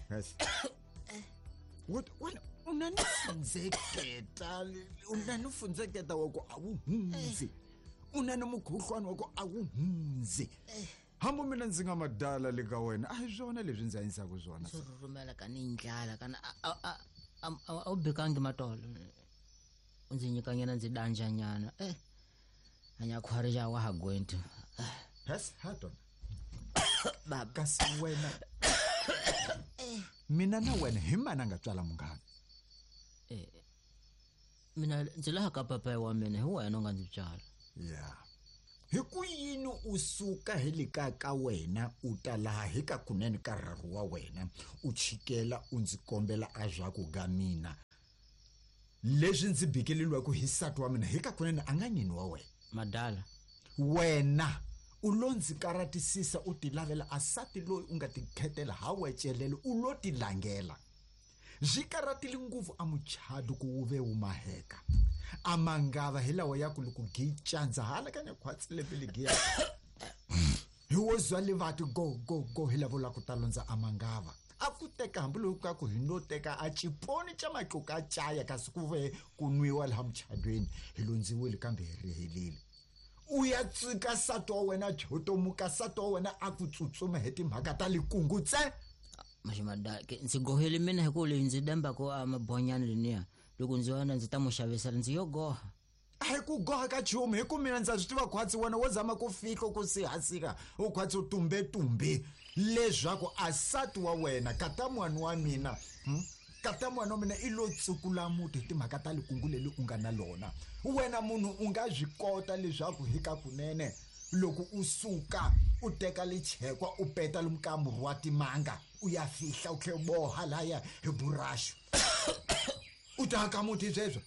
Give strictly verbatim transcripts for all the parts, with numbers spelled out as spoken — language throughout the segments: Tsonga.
Yes. What wena u na ni fundzeketa u na ni fundzeketa wa ku a wu hundzi u na ni mukhuhlwani wa ku a wu hundzi hambi mina ndzi nga madala le ka wena a hi swona leswi ndzi hanyisaka swona swo rhurhumela ka ni ndlala kana a a a wu bekangi matolo u ndzi nyikanyana ndzi danjanyana eh anyakhwari ja wa ha gwenti yes hatona baba kasi wena mina na wena hi mana nga tswala munghana eh mina ndzi laha ka papa wa mina hi wena u nga ndzi tswala ya hi ku yini u suka hi le kaya ka wena u ta laha hi ka kunene ka rharu wa wena u chikela u ndzi kombela a swa ku ga mina leswi ndzi bikeleliwaka hi nsati wa mina hi ka kunene a nga nyini wa wena madala wena u lo ndzi karatisisa u ti lavela a sati loyi u nga ti khetela ha wecelele u lo ti langela swi karatile ngopfu a muchado ku wu ve wu maheka a mangava hi lawa ya ku loko gicandza hala ka nyakhwatsile pele giya hi wo zwa livati go go go hi lavo la ku ta londza a mangava a ku teka hambiloko ka ku hi no teka a ciponi xa matluka a caya kasi ku ve ku nwiwa laha muchadweni hi londziwile kambe hi rihelile u ya tsika nsati wa wena jotomuka nsati wa wena a ku tsutsuma hi timhaka ta likungu tse maxi ke ndzi gohele mina hi ku leyi ndzi dembako a mabonyana leniya loko ndzi vona ndzi ta mu xavisela ndzi yo goha a hi ku goha ka chumu hi ku mina ndza swi tiva khwatsi wena wo zama ku fihla ku sihasika u khwatsi u tumbetumbe leswaku a nsati wa wena kata n'wana wa mina hmm? kata n'wana wa mina i lo tsukula muti hi timhaka ta likungu leri u nga na lona wena munhu u nga swi kota leswaku hi ka kunene loko u suka u teka lichekwa u peta lumkamuru wa timanga u ya fihla u tlhe u boha laya hi buraxu u ta ka muti sweswo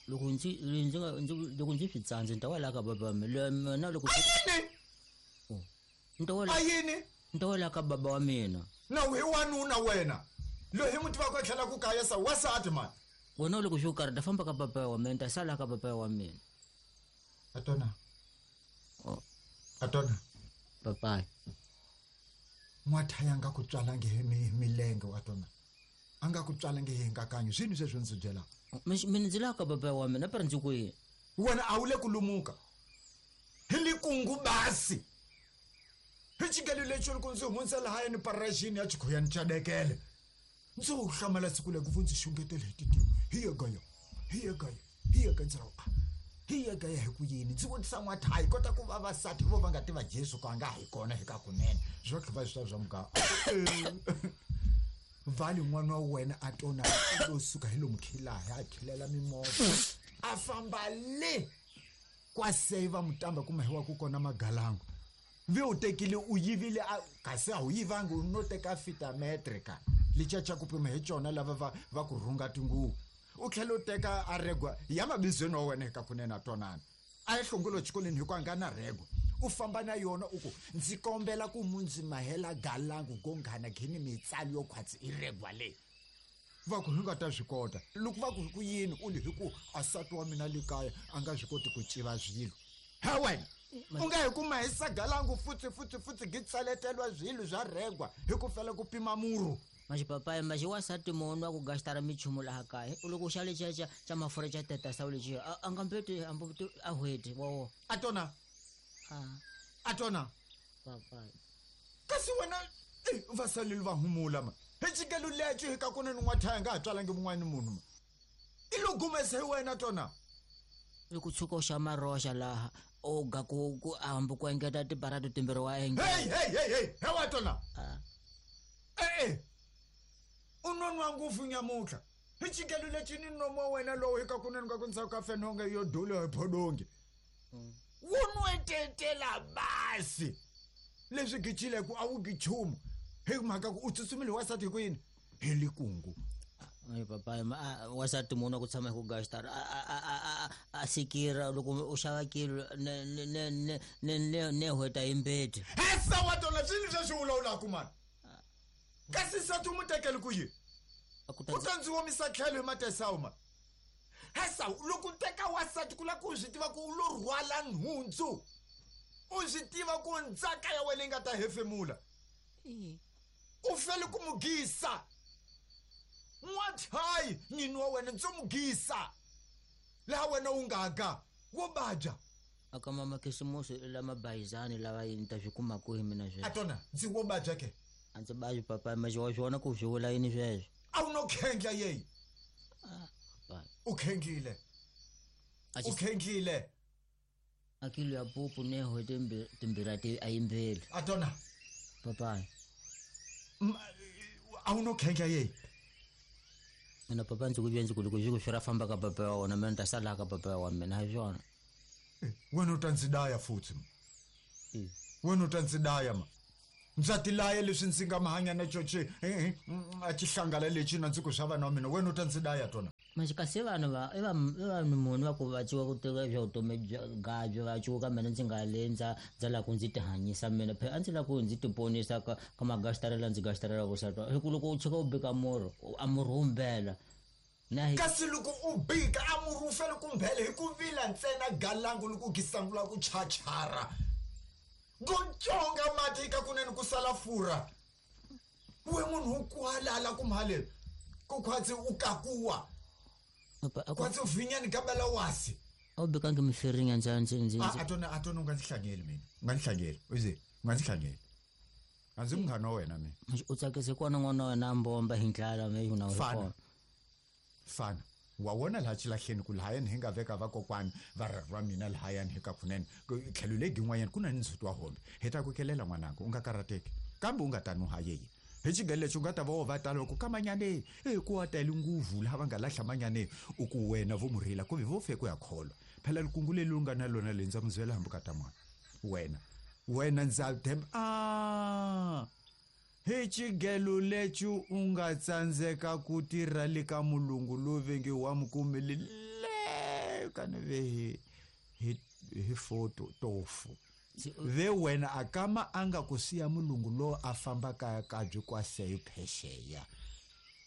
loko ndzi ndzi nga ndzi loko ndzi swi tsandza ni ta wela ka baba mina mina loko yini ni ta wela a yini ni ta wela ka baba wa mina na hi wanuna wena loyi hi muti wa ku tlhela ku kaya sa wasati mani wena loko swi karhi ta famba ka baba wa mina ni ta sala ka baba wa mina atona oh atona papayi n'wathaya nga ku tswalangi hi milenge wa tona a nga ku tswalangi hi nkakanyo swini sweswo ndzi byelaka mina ndzi laha ka baba wa mina pera ndzi kwihi wena a wu le ku lumuka hi likungu basi hi xikelo lexi loko ndzi hundza lahayani parajini ya chikhoyani xa dekele ndzi wu hlamala siku leku vo ndzi xungetele hi titiwa hi ye gaya hi ye gaya hi ye gaya ndzi ra hi ye gaya hi ku yini ndzi vutisa n'wathayi kota ku vavasati vo va nga tiva Jesu ku a nga hi kona hi ka kunene swo tlhuva swi swa muganga vali n'wana wa wena a tona u lo suka hi lomu khilaha a khilela mimovha a famba le kwaseva mutamba kuma hi wa ku kona magalangu ve u tekile u yivile kasi a wu yivangi u no teka fitametre ka licaca ku pima hi cona lava va va ku rhunga tinguvu u tlhela u teka a regwa ya mabizweni wa wena hi ka kunene a twanana a yi hlongolo xikolweni hi ku a nga na regwa u famba na yona u ku ndzi kombela ku mundzi mahela galangu go nghana khini mitsalo yo khwatsi i regwa leyi va ku hi nga ta swi kota loko va ku hi ku yini u li hi ku a nsati wa mina le kaya a nga swi koti ku civa swilo he wena u nga hi kuma hi sagalangu futsi futsi futsi gi tsaleteliwa swilo swa regwa hi ku fela ku pima murhu maxipapayi maxi wansati munhu wa ku gastara michumu laha kaya loko xa lexiya xa xa mafurha xa tetasawu lexiya a nga mbeti hambi a hweti wowo a tona a tona papayi kasi wena va saleli va humula ma hi xikelo lexo hi ka kunene n'wathaya nga ha tswalangi mun'wani munhu ma i lo gumesa hi wena tona i ku tshuka u xa maroxa laha u ga ku ku hambi ku engeta tibarato timbirhi wa engeta hey hey hey hey he wa tona e-e u nonwa ngopfu nyamutlha hi xikelo lexi ni nomo wa wena lowu hi ka kunene ka ku ndzhaku ka fenonge yo dula hi phodongi wu nwetetela basi leswi gicile ku a wu gichumu hi mhaka ku u tsutsumile wasati hi ku yini hi likungu Ai papayi wasati munhu wa ku tshama hi ku gastara a a sikira loko u xava kilo ne ne ne ne ne ne hweta hi mbeti hesa wa tona swini sweswi vulavulaka mani kasi nsati u mu tekele ku yini u ta ndzi omisa tlhelo hi matesawu mani hesa loko u teka wasati ku lava ku swi tiva ku u lo rhwala nhundzu u swi tiva ku ndzaka ya wena yi nga ta hefemula U fele ku mugisa. N'wathayi nyini wa wena ndzo mugisa. Laha wena u nga ga wo baja. Aka mama khisimusi lama bayizani lava yini ta swi kuma kwihi mina sweswi? Atona ndzi wo baja ke. A ndzi baji papa, ma wa swona ku swi vula yini sweswo? A wu no khendla yeyi. Ah, u khendlile. U khendlile. A kilo ya pupu neho timbirhi ti a yimbeli. Atona. Papa. A wu no khendla yeyi. Mina papa ndzi ku ndzi ku loko swi ra famba ka papa wa wona mina ni ta sala ka papa wa mina hi swona. Wena u ta ndzi daya futhi. Wena u ta ndzi daya ma. Ndza tilaya leswi ndzi nga mahanya na coce a xihlangala lexi na ndzi ku swa vana wa mina. Wena u ta ndzi daya tona. Manje kasi vanhu va i vanhu munhu va ku va ciwa ku teka swa vutomi bya va ciwa ka mina ndzi nga le ndza ndza lava ku ndzi tihanyisa mina phela a ndzi lava ku ndzi tiponisa ka ka magastarela ndzi gastarela ku satwa hi ku loko u tshika u bika murhi a murhi wu mbela. Kasi loko u bika a murhi wu fele ku mbela hi ku vila ntsena galangu loko u gisangula ku chachara. Gontsonga mati ka kunene ku sala furha. We munhu u kwalala ku mhaleni ku khwatsi u kakuwa. Kwatsi u vinyani gabela wasi. A wu bikangi mifirinya ndza ndzi ndzi. A atona atona u nga ndzi hlangeli mina. U nga ndzi hlangeli. Uze u nga ndzi hlangeli. A ndzi munghana wa wena mina. U tsakise kona n'wana wa wena a mbomba hi ndlala me na u ri kona. Fana. Wa wona laha xilahleni ku lahayani hi nga veka vakokwani va rharhu va mina lahayani hi ka kunene tlhelo legi n'wanyana ku na ni ndzhuti wa hombe. Hi ta ku kelela n'wananga u nga karhateki kambe u nga ta nuha yeye. Hi xigelo lexi u nga ta va wo va tala ku ka manyane e ku wa tele nguvu laha va nga lahla manyane u ku wena vo murhila ku ve vo fe ku ya kholwa. Phela likungu leri u nga na lona le ndza muzwela hambi ka ta mwana. Wena wena ndza themba a hi xigelo lexi u nga tsandzeka ku tirha le ka mulungu lowu venge wa mukumeli le ka ni ve hi hi hi foto tofu. Ve wena a kama a nga ku siya mulungu lowu a famba kaya kabyi kwa seyo phexeya.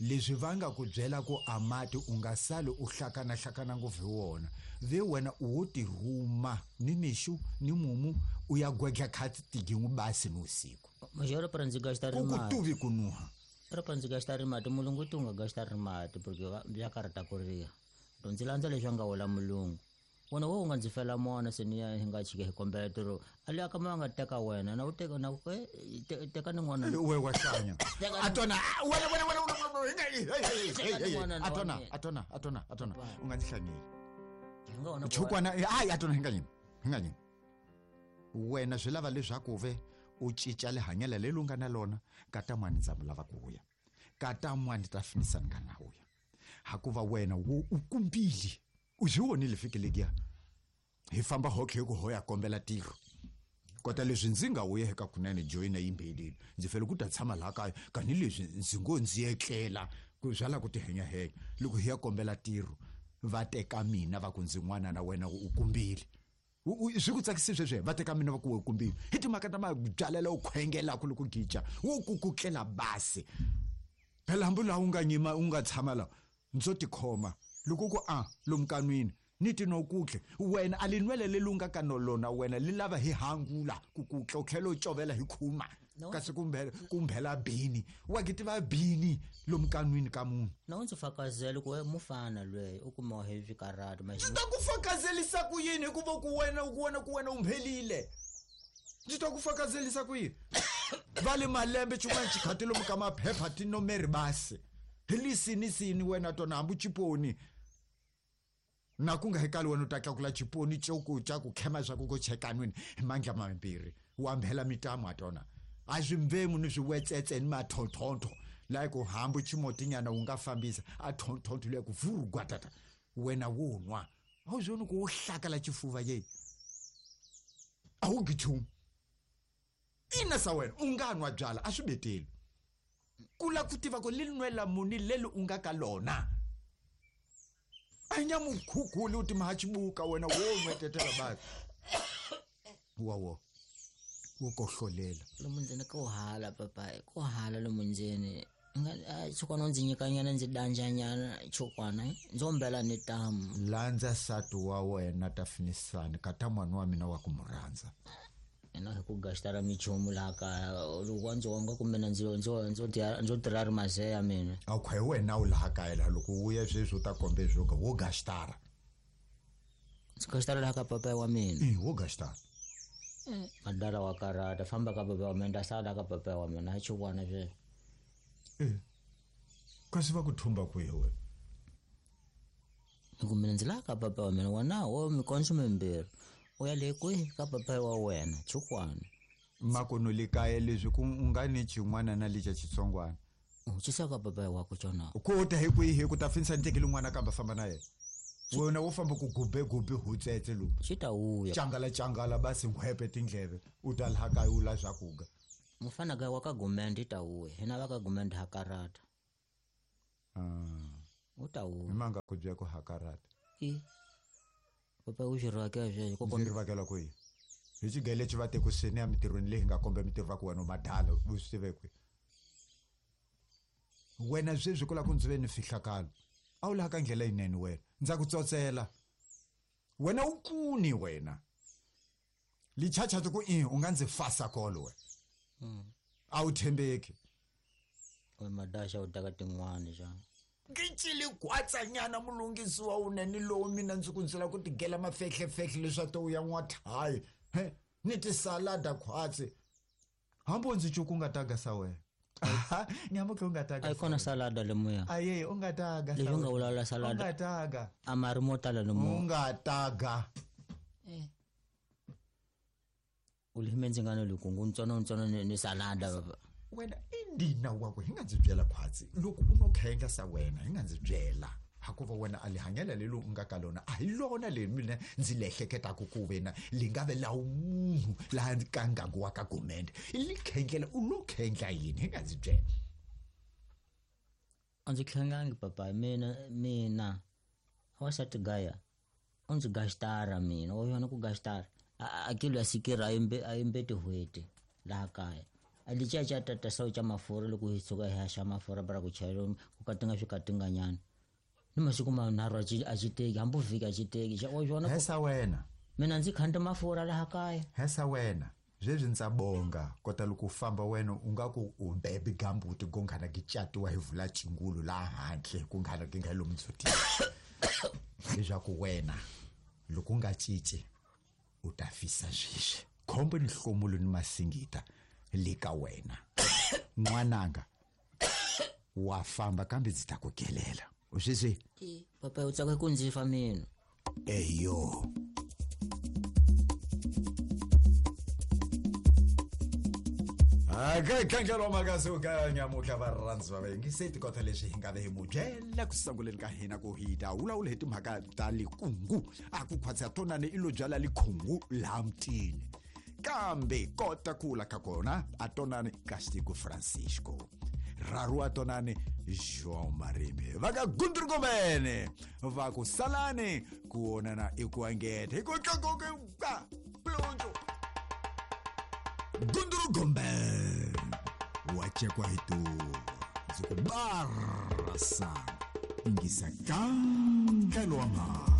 Leswi va nga ku byela ku a mati u nga sali u hlakana hlakana ngopfu hi wona. Ve wena u wo tirhuma ni mixu ni mumu u ya gwedla khati tigin'we basi ni usiku. Majoro para ndzi gasta ri Ku ku mati. tuvi ku nuha. Ra pa ndzi gasta ri mati mulungu ti u nga gasta ri mati porque bya karhata ku riha. To ndzi landza leswi a nga wela mulungu. Wona wo u nga ndzi fela mona se ni ya hi nga chike hi kombela tiro. A le ka ma nga teka wena na u teka na ku teka ni n'wana. We wa hlanya. Atona wena wena wena wena atona atona atona atona u nga ndzi hlanyeli. Chukwana hayi atona hi nga nyimi hi nga nyimi. Wena swi lava leswaku ve u cinca lihanyelo leri u nga na lona ka ta n'wana ndza lava ku vuya. Ka ta n'wana ta finisa ni nga na vuya. Hakuva wena wo u kumbile. U swi vonile fiki lekiya. Hi famba hotlhe hi ku hoya kombela tiro. Kota leswi ndzi nga vuya eka kunene joyina yimbelile. Ndzi fele ku ta tshama laha kaya kani leswi ndzi ngo ndzi etlela ku byala ku tihenyahenya. Loko hi ya kombela tiro va teka mina va ku ndzi n'wana na wena u kumbile. Swi ku tsakisi sweswi va teka mina va ku u kumbile. Hi timhaka ta mabyalela u khwengelaka loko gija wo ku ku tlela basi. Phela hambi laha u nga nyima u nga tshama laha ndzo tikhoma. Loko ku a lomu kanwini ni ti no kutle wena a linwele leri u nga ka lona wena li lava hi hangula ku kutla u tlhela u covela hi khuma kasi kumbe kumbela bini wa ki tiva bini lomu kanwini ka munhu. Na u ndzi fakazela ku mufana lweyi u kumiwa hi swikarhati. Ndzi ta ku fakazelisa ku yini hikuva ku wena ku wena ku wena u mphelile. Ndzi ta ku fakazelisa ku yini? Va le malembe xin'wana xikhati lomu ka maphepha tinomeri basi. Hi lisini sini wena tona hambi chiponi. Na ku nga hekali wena u ta tlakula chiponi xo xa ku khema swa ku ku chekanwini hi mandla mambirhi wa mbhela mitamu atona. A swi mvemu ni swiwetsetse ni mathonthonto laha ku hambi ximotinyana wu nga fambisa a thonthonto leyi ku vurugwatata wena wo nwa. A wu swi voni ku wo hlakala xifuva ye. A wu ngi nchumu. Ina sa wena u nga nwa byala a swi beteli. Ku lava ku tiva ku li nwela muni leri u nga ka lona. A nya mukhukhuli u ti mahachibuka wena wo nwetetela basi. Wa wo. Wo kohlolela. Lomu ndzeni ko hala papa, ko hala lomu ndzeni. Nga chukwana u ndzi nyikanyana ndzi danjanyana chukwana ndzo mbela ni tamu. Landza nsati wa wena ta finisani ka ta n'wana wa mina wa ku mu rhandza. Ina hi ku gastara michumu laha kaya loko ndzi wonga kumbe na ndzi ndzo ndzo ndzo tirha ri mazeya mina. A khwe wena u laha kaya laha loko u ya sweswi u ta kombe swo ka wo gastara. Ndzi gastara laha ka papa wa mina. Eh wo gastara. Eh madala wa karata famba ka papa wa mina nda sala ka papa wa mina a chukwana sweswi. Eh kasi va ku thumba kwihi wena? Ni ku mina ndzi laha ka papa wa mina wena wo mikondzo mimbirhi. U ya le kwihi ka papa wa wena chukwana. Makono le kaya leswi ku u nga ni xin'wana na lexa xitsongwana. U xisa ka papa wa ku xona. Ku ta hi kwihi ku ta finsa ntekele n'wana kamba famba na yena. Wena wo famba ku gube gube hutsetse lo. Xi ta vuya. Changala changala basi ngwepe tindleve u ta laha kaya u la swakuga. Mufana ka wa ka gumende ta vuya. Hina va ka gumende ha karata. Ah. U ta vuya. Manga ku bya ku ha karata. I papa u xi rhakela sweswo ko ndzi rivakela kwihi hi xigele lexi va tekuseni ya mitirhweni leyi nga komba mitirho va ku wena u madala u swi tive kwihi wena sweswi ku lava ku ndzi ve ni fihlakalo a wu laha ka ndlela yinene wena ndza ku tsotsela wena u kuni wena lichacha ku i u nga ndzi fasa kolo wena a wu tshembeki we madaxa u taka tin'wani xa Ngicile kwatsanyana mulungisi wa unene lowu mina ndzi ku ndzi lava ku tigela mafehlefehle leswaku u ya n'wathayi he ni tisalada khwatsi hambi ndzi cuku u nga taga sa wena nyamuke u nga taga a yi kona salada lemuya aye u nga taga leswi u nga vulavula u salada nga taga a mari mo tala lomu u nga taga u lime ndzi nga ni likungu ntsona ntsona ni ni salada baba wena indina wakwe hi nga ndzi byela khwatsi loko u no khenga sa wena hi nga ndzi byela hakuva wena a lihanyela lelo u nga ka lona a hi lona leri mina ndzi lehleketaka ku wena li nga ve lawu munhu laha ka ngangu wa ka gumende li khendlela u lo khendla yini hi nga ndzi byela a ndzi khengangi papa mina mina wasati gaya u ndzi gastara mina wa yona ku gastara a kilo ya sikira a yimbe a yimbe tihweti laha kaya a licaca tata sawu ca mafurha loko hi suka hi haxa mafurha bara ku chayela ku katinga swi katinganyana ni masiku manharhu a ci a ci teki hambi vhiki a ci teki xa wa xona hesa wena mina ndzi khanda mafurha laha kaya hesa wena sweswi ndza bonga kota loko u famba wena u nga ku u bebe gambuti gonghana ki catiwa hi vula chingulu laha handle ku nghana ki nga lomu ndzhutini leswaku wena loko u nga cinci u ta fisa sweswi khombo ni hlomulo ni masingita le ka wena n'wananga wa famba kambe ndzi ta ku kelela u sweswi papa u tsaka ku ndzi fa mina eyo aka khandlela makasuka nyamuhla varhandzi va vayingiseti kota leswi hi nga ve hi mu byela ku sunguleni ka hina ku hi ta vulavula hi timhaka ta likungu a ku khwatsa tonani i lo byala likhungu laha mutini kambe kota kula ka kona a tonani Castigo Francisco raru a tonani João Marimi va ka Gundurugomene va ku salani ku onana i ku angeta hi ku tlakuka ka plunju Gundurugombe wa chekwa hi tuva ndzi ku barasa ingisa kandlelo wa mhaka.